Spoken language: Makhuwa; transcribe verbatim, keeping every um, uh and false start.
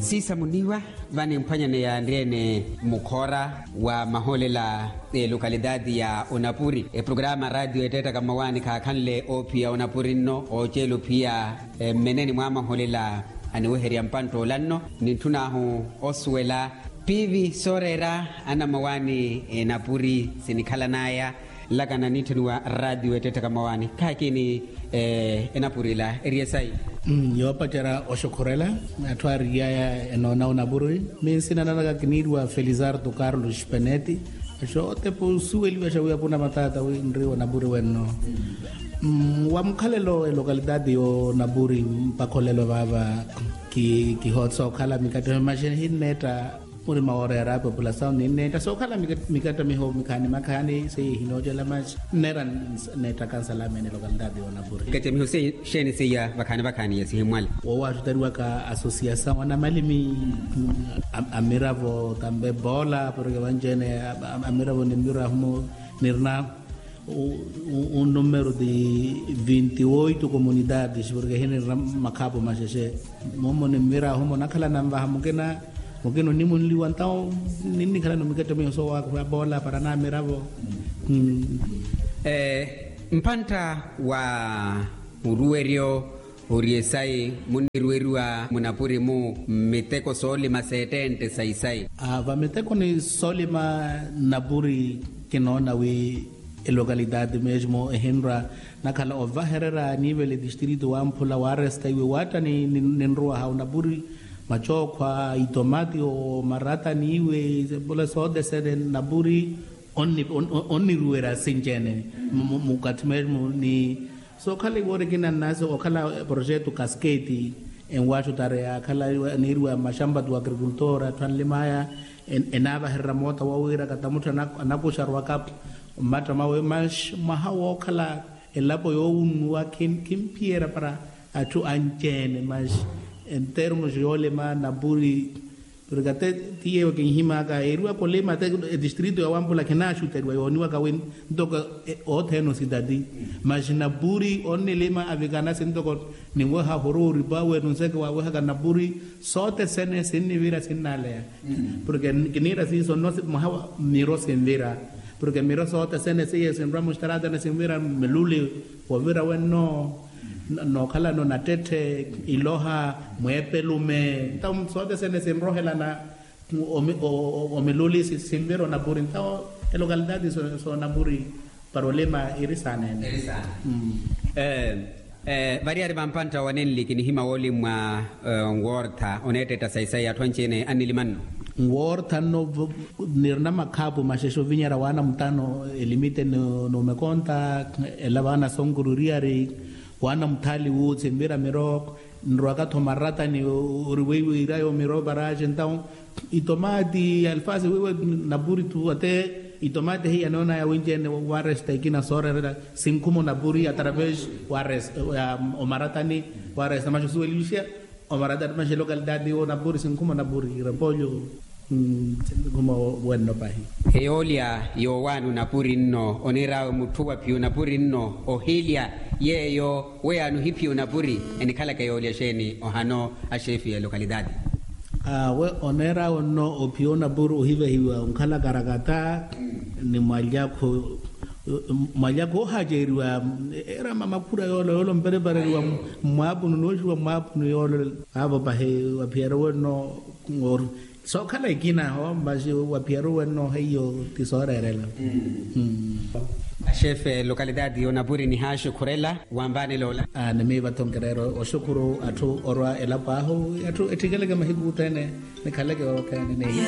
Siisa muniiwa, vani mphwanyaneya anriyene mukhoora wa mahoolela, elokalitaati ya onapuri eprograma radio eteettaka mmawaani khaakhanle oophiya onapuri nno ooceela ophiya. Mmeneni mwa mahoolela aniweherya mpantta ola nno nintthun'ahu osuwela piivi sooreera anamawaani enapuri sinikhalan'aya. Nlakana nitthuniwa radio eteettaka mmawaani khaakini enapuri ila eri esayi. Yoopacerya oxukhurela atthu aariy'aya enoona onapuri. Minsina nanaka kiniiriwa felizardo carlos peneti. Xootepa osuweliwa xa wi apuna mataata wi nriiwa onapuri wenno. Wa mukhalelo elokalitaati y'onapuri mpakha olelo vaava kihootisa okhala mikattamiho maxi ehinneetta. Murima woora yaraapwe populasaw ninneetta sookhala mikattamiho mikhaani makhaani seiya ehinoocela maxi nneera. Nneettaka nsalama ene lokalitaati y'onapuri. Mikattamiho seiya xeeni seiya vakhaani vakhaani ya sihimmwale. Woowaxutariwaka asosiyasaw anamalimi amiravo tambe boola porke vanci-ene amiravo nimbirwa ahumo nirina. Unnumero ti vinti oito komunitatis porke ehinirina makhaapu maxexe. Momo nimmira ahumo nakhala nanvaha mukina mukina onimunliwa ntawo ninnikhala nomikattamiho soowaakhuwa boola para namiravo. Mpantta wa muruweryo ori esayi munniruweriwa munapuri-mu mmiteko soolima seettentte sa isayi. Vamiteko ni soolima napuri kinoona wi elokalitaati mesmo ehinrwa nakhala ovahererya niivela etistrito wamphula waaresta iwe waatta ninruwaha onapuri macookhwa itomati omarata niiwe. Pula sootesene napuri onniruwerya sinci-ene mukatthi mesmo ni sookhala iwoori ekina nnasi okhala projeto kasketi enwaxutareya akhala aniiriwa maxampa tu agrikultor atthu anlim'aya enaavahererya moota wowira kata mutthu anakuxarwaka mmatta mawe maxi mwaha wookhala elapo yoowunnuwa khimphiyerya para atthu anci-ene maxi entermos yoolima napuri. Porke ate ti yeeyo kinhimaka eeriwaka olima ate etistrito ya wampula khinaaxuteriwa yooniwaka wi ntoko othene ositati maxi napuri onnilima avikana sintoko ninweha horooripa wenu nseke waawehaka napuri sootesene sinnivira sinnaleya. Porke kiniira siiso nno mwaha miro sinvira porke miro sootesene seiye sinrwa mustaratene sinvira miluli wovira wenno nookhalano nattetthe iloha mweepelume ntawo sootesene sinrohelana omiluli sinvira onapuri ntawo elokalitaati soonapuri para olima iri saana ene. Variyari vampantta wa nenli kinihima wolimwa nwoortha oneettetta sayi sayi atthu anci-ene annilima nno. Nwoortha nno nirina makhaapu maxexe ovinyerya waana mutano elimite n'umekonta ela vaana sonkururiyari waana muthaali wuuthi nvira miro nrowaka-tho maratani ori weiwe irayo miro varaxe ntawo itomati alfasi weiwe napuri tu ate itomati heiya noonaya winci-ene waresta ikina sooreerela sinkhumo napuri atraves waresta omaratani waresta maxi osuweliwixiya omaratani maxi elokalitaati onapuri sinkhumo napuri repolyo. Sinkhumo wenno pahi. Eyoolya yoowaani onapuri nno oniir'awe mutthu waphiya onapuri nno ohilya yeeyo weyaani ohiphiya onapuri enikhalaka yoolya xeeni ohano axeefi ya elokalitaati? Awe oneer'awe nno ophiya onapuri ohivehiwa onkhala karakata ni mwalyakho mwalyakho oohaceeriwa erama makhura yoolo yoolo mperepareriwa mmwaapunu nooxiwa mmwaapunu yoolo. Aavo pahi waphiyariwe nno sookhala ekina ho masi waphiyariwe nno heiyo ti sooreerela. Axefe lokalitaati y'onapuri nihaaxukhurela wanvaanela ola. Ni miiva-tho nkireera oxukhuru atthu orwa elapo ahu atthu ettikeleke mahiku othene nikhaleke vakhani.